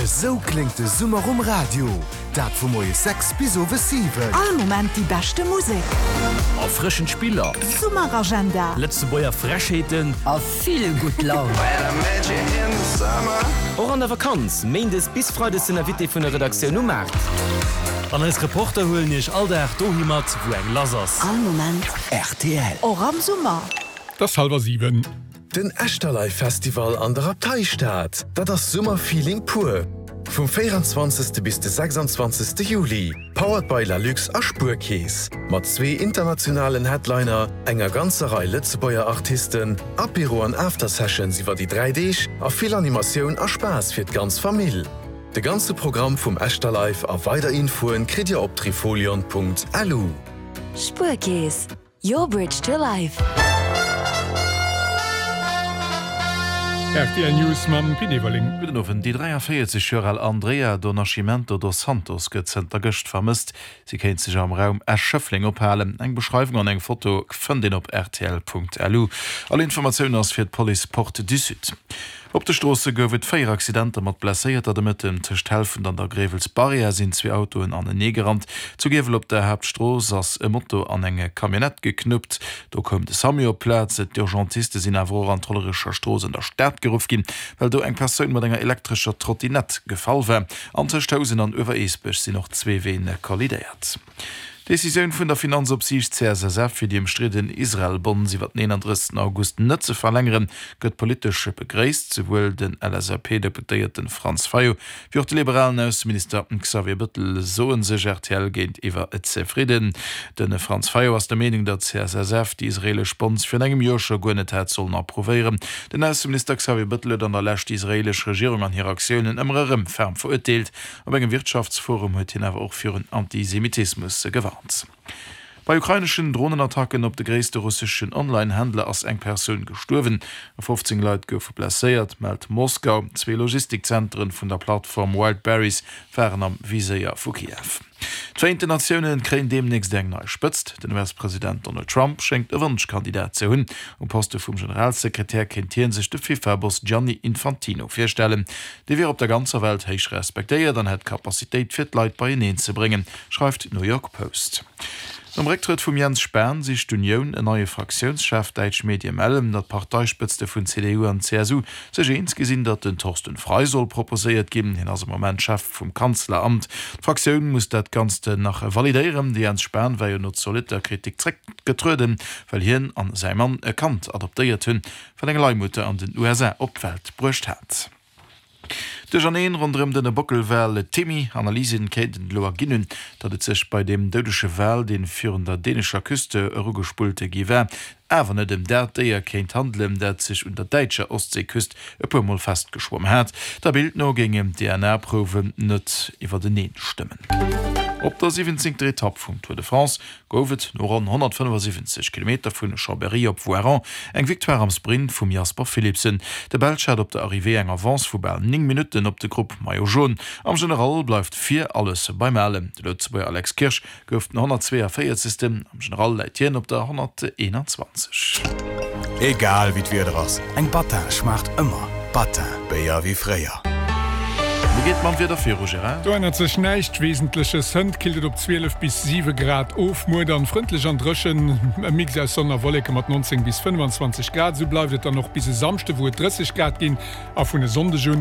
Esou kléngt de Summer um Radio, dat vu moies 6 bis owes 7. All Moment déi beschte Musek. Erfrëschend Spiller. Summeragenda. Lëtzebuerger Frechheeten. A vill gutt Laun. Och an der Vakanz, Méindes bis Freides den Invité vun der Redaktioun um Maart. An eis Reporter huelen iech all Dag dohi mat, wou eng lass ass. All Moment rtl. Och am Summer. Et ass hallwer 7. Den Echterlive Festival an der Abteistad, dat ass Summerfeeling pur! Vum 24. Bis de 26. Juli, powered by Lalux a Spuerkeess, mat zwee internationalen Headliner, enger ganzer Rei Lëtzebuerger Artisten, Apéro an Aftersessions iwwer déi 3 Deeg a vill Animatioun a Spaass fir d'ganz Famill. De ganze Programm vum Echterlive a weider Infoen kritt dir op trifolion.lu. Spuerkeess, Your bridge to life. Rtl News mam Pit Everling. Gudden Owend. Déi 43 Joer al Andrea do Nascimento dos Santos gëtt zënter gëscht vermësst. Si kéint sech am Raum Esch-Schëffleng ophalen. Eng Beschreiwung an eng Foto fënnt een op rtl.lu. All Informatioun ass fir d'Police Porte du Sud. Op de Stroosse gouf et 4 Accidenter mat Blesséierter de Mëtten. Tëscht Helfent an der Gréiwelsbarrière sinn zwee Autoen anenee gerannt. Zu Giewel op der Haaptstrooss ass e Moto an eng Camionnette geknuppt. Do koum de Samu op d'Plaz. D'Urgentiste sinn awer och an d'Hollerecher Strooss an der Stad geruff ginn, well do eng Persoun mat enger elektrescher Trottinett gefall war. An tëscht Housen an Uewereesbech sinn och zwee Ween kollidéiert. D'Decisioun vun der Finanzopsiicht CSSF, fir déi ëmstridden Israel-Bonds iwwer den 31 August net ze verlängeren, gëtt politesch begréisst. Souwuel den LSAP-Deputéierte Franz Fayot wéi och de liberalen Ausseminister Xavier Bëttel soe sech rtl géintiwwer zefridden. De Franz Fayot ass der Meenung, datt d'CSSF déi israeelesch Bonds virun engem Joer scho guer net hätt sollen approuvéieren. Den Ausseminister Xavier Bëttel huet an der Lescht déi israeelesch Regierung an hir Aktiounen ëmmer erëm ferm verurteelt. Op engem Wirtschaftsforum huet hien awer och virun Antisemitismus gewarnt. Bei ukraineschen Dronenattacken op de gréisste russeschen Online-Händler ass eng Persoun gestuerwen a 15 Leit goufe blesséiert, mellt Moskau. Zwee Logistikzentren vun der Plattform Wildberries waren am Viséier vu Kiew. D'Vereenten Natioune kréien deemnächst eng nei Spëtzt. Den US-President Donald Trump schéngt e Wonschkandidat ze hunn. Um Poste vum Generalsekretär kéint hie sech de FIFA-Boss Gianni Infantino virstellen. Dee wier op der ganzer Welt héich respektéiert an hätt d'Capacitéit fir d'Leit beieneen ze bréngen, schreift d'New York Post. Nom Récktrëtt vum Jens Spahn sicht d'Unioun en neie Fraktiounschef. Däitsch Medie mellen, datt d'Parteispëtzte vun CDU an CSU sech eens gi sinn, datt den Thorsten Frei soll proposéiert ginn. Hien ass am Moment Chef vum Kanzleramt. D'Fraktioun muss dat Ganzt nach validéieren. De Jens Spahn war jo no zolitter Kritik zréckgetrueden, well hien an säi Mann e Kand adoptéiert hunn, wat eng Leihmutter an den USA op d'Welt bruecht hat. Duercherneen ronderëm den Bockelwal Timmy. Analysen kéinten elo erginn hunn, datt et sech bei deem doudege Wal, dee virun der dänescher Küste erugespullt gi war, awer net ëm dat Déier kéint handelen, dat sech un der däitscher Ostseeküst e puer Mol festgeschwomm hat. Der Bild no géingen d'DNA-Prouwen net iwwerteneen stëmmen. Op der siwwenzéngter Etapp vum Tour de France gouf et no ronn 175 Kilometer vun Chambéry op Voiron eng Victoire am Sprint vum Jasper Philipsen. De Belsch hat op der Arrivée eng Avance vu bal 9 Minutten op de Grupp Maillot Jaune. Am General bleift vir alles beim Alen. De Lëtzebuerger Alex Kirsch gouf den 142. Am General läit hien op der 121. Egal wéi d'Wieder ass, eng Battin schmaacht ëmmer. Battin, Béier wéi fréier. Wéi geet et mam Wieder viru, Gérard? Do ännert sech näischt Wesentleches. Hënt killt et op 12 bis 7 Grad of, muer dann frëndlech an dréchen, e Mix aus Sonn a Wolleke mat 19 bis 25 Grad. Esou bleift et dann och bis e Samschde, wou et 30 Grad ginn a vun e Sonndeg un.